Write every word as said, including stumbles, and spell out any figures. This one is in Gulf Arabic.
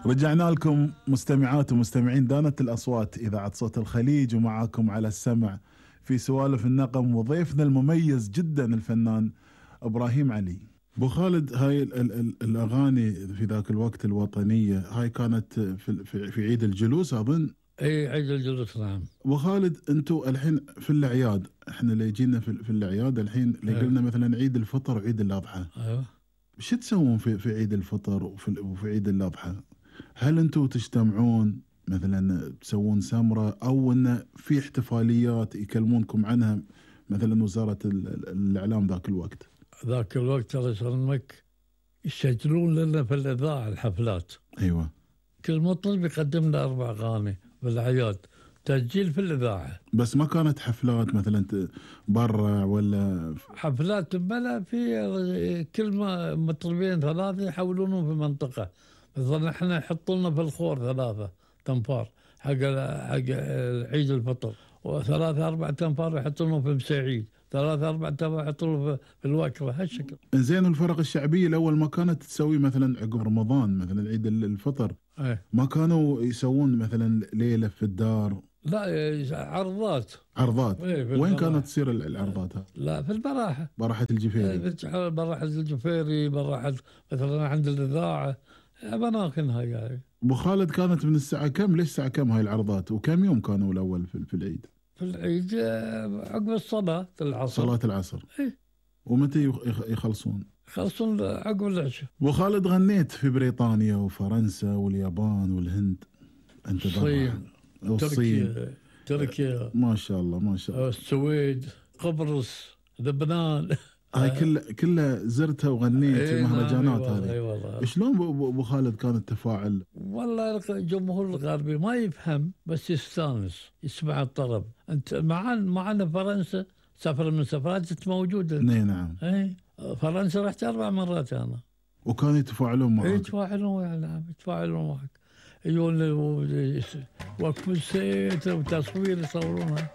رجعنا لكم مستمعات ومستمعين دانت الأصوات إذاعة صوت الخليج، ومعاكم على السمع في سوالف النغم وضيفنا المميز جدا الفنان إبراهيم علي. أبو خالد، هاي ال ال ال الأغاني في ذاك الوقت الوطنية هاي كانت في, في, في عيد الجلوس أظن. اي عيد الجلوس نعم. أبو خالد، أنتوا الحين في الأعياد، احنا اللي جينا في, في الأعياد الحين اللي أيوه. قلنا مثلا عيد الفطر وعيد الأضحى. ايوه. شو تسوون في في عيد الفطر وفي, وفي عيد الأضحى؟ هل أنتوا تجتمعون مثلا تسوون سمرة، أو أن في احتفاليات يكلمونكم عنها مثلا وزارة الإعلام ذاك الوقت؟ ذاك الوقت الله يسلمك يسجلون لنا في الإذاعة الحفلات. أيوة. كل مطرب يقدم لنا أربع أغاني في الأعياد، تسجيل في الإذاعة. بس ما كانت حفلات مثلا برا ولا حفلات بلا، في كل ما مطربين ثلاثة يحولونهم في منطقة. مثلا احنا يحطوا لنا في الخور ثلاثة تنفار حق حق عيد الفطر، وثلاثة أربعة تنفار يحطونه في مساعيد، ثلاثة أربعة تنفار يحطونه في الوكرة، هالشكل. زين، الفرق الشعبية الأول ما كانت تسوي مثلا عقب رمضان مثلا عيد الفطر؟ ايه. ما كانوا يسوون مثلا ليلة في الدار؟ لا، عرضات. عرضات. ايه، وين كانت تصير العرضات؟ لا، في البراحة. براحة الجفيري. ايه، براحة الجفيري، براحة مثلا عند الإذاعة، أماكنها يعني. أبو خالد، كانت من الساعة كم ليش الساعة كم هاي العرضات، وكم يوم كانوا الأول في, في العيد؟ في العيد عقب الصلاة العصر. صلاة العصر. ايه. ومتى يخلصون؟ يخلصون عقب العشاء. أبو خالد، غنيت في بريطانيا وفرنسا واليابان والهند، أنت الصين، والصين، تركيا تركيا ما شاء الله ما شاء الله، السويد، قبرص، لبنان. هاي كلها كلها زرتها وغنيت في ايه مهرجانات نعم. هذه. اي والله. شلون ابو خالد كان التفاعل؟ والله الجمهور الغربي ما يفهم بس يستانس يسمع الطرب. انت معنا معنا فرنسا، سفر من سفرات موجوده. اي نعم. اي فرنسا رحت اربع مرات انا. وكانوا يتفاعلون معك؟ يتفاعلون نعم، يتفاعلون معك، يجون وقف السيت وتصوير يصورونها.